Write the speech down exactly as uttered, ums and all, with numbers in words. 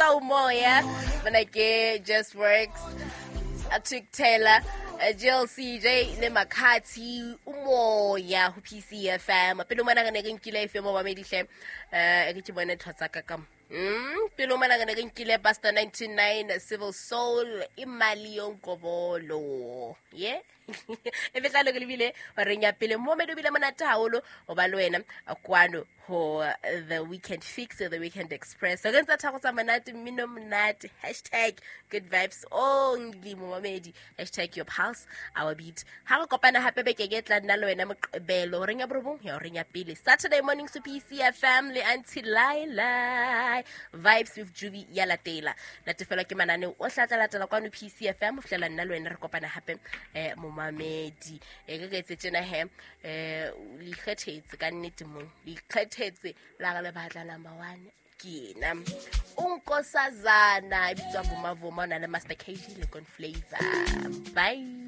Ka Umoya mona ke Just Works, Trick Taylor, Jill C J le Makhathi, Umoya ho P C F M. Pele mona re ne re nkile F M ba medihle, eh ke bone ntho tsa ka ka Mm, pele mona re ne re nkile Buster ninety-nine, Civil Soul, Imali Yonkobolo. Yeah. E betla le lebile horeng ya pele mo me bile monate haholo ho ba le wena kwano ho The Weekend Fix, The Weekend Express. Re ntse tharo tsa monate, mmino monate, hashtag good vibes only, momamedi, hashtag your pulse our beat. Ha re kopana hape bekeng e tla nna le wena Moqebelo horeng ya borobong ya horeng ya pele. Saturday morning to P C F M le Auntie Laila, Vibes with Juby ya latela. Natefelwa ke mananeo o hlatla latela kwano P C F M ho fihlela nna le wena re kopana hape, eh momamedi. E ke ke etse tjena he, eh le ikgethetse ka nnete mo le ikgethetse la re le batla number one ke ena Unkosazana e bitswa Vuma Vuma, o na le Master K G le Con Flavor. Bye.